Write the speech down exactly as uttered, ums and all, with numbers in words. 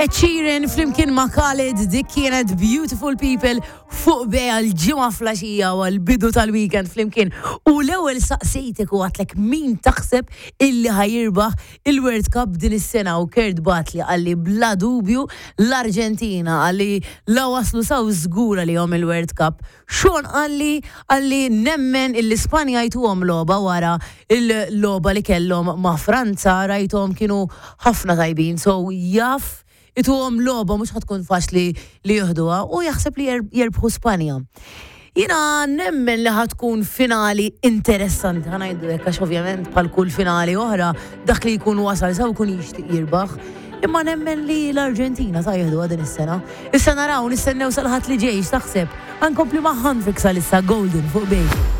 Ed Sheeran flimkien ma' Khalid, dik kienet Beautiful People fuq Bay għal-Ġimgħa filgħaxija u għal-bidu tal-weekend flimkien. U l-ewwel saqsejtek u għedtlek min taħseb illi ħa jirbaħ il-World Cup din is-sena u Kurt bagħatli, qalli bla dubju l-Arġentina, qalli la waslu s'hawn żgura li jom il-World Cup. Sean qalli qalli nemmen il-Ispanja jtuhom logħba wara il-logħba li kellhom ma' Franza, rajthom kienu ħafna tajbin, so jaf ituhom logħba, mhux ħa tkun faċli li jieħduha u jaħseb li jerbħu Spanja. Jiena nemmen li ħa tkun finali interessanti, ħa ngħidu hekk, għax ovvjament bħal kull finali oħra dak li jkun wasal s'hawn jkun jixtieq jirbaħ. Imma nemmen li l-Arġentina ta' jieħdu din is-sena. Issa naraw, nistennew sal-Ħadd li ġej, taħseb. Ħa nkompli ma' Hendrix għalissa, Golden fuq Bay.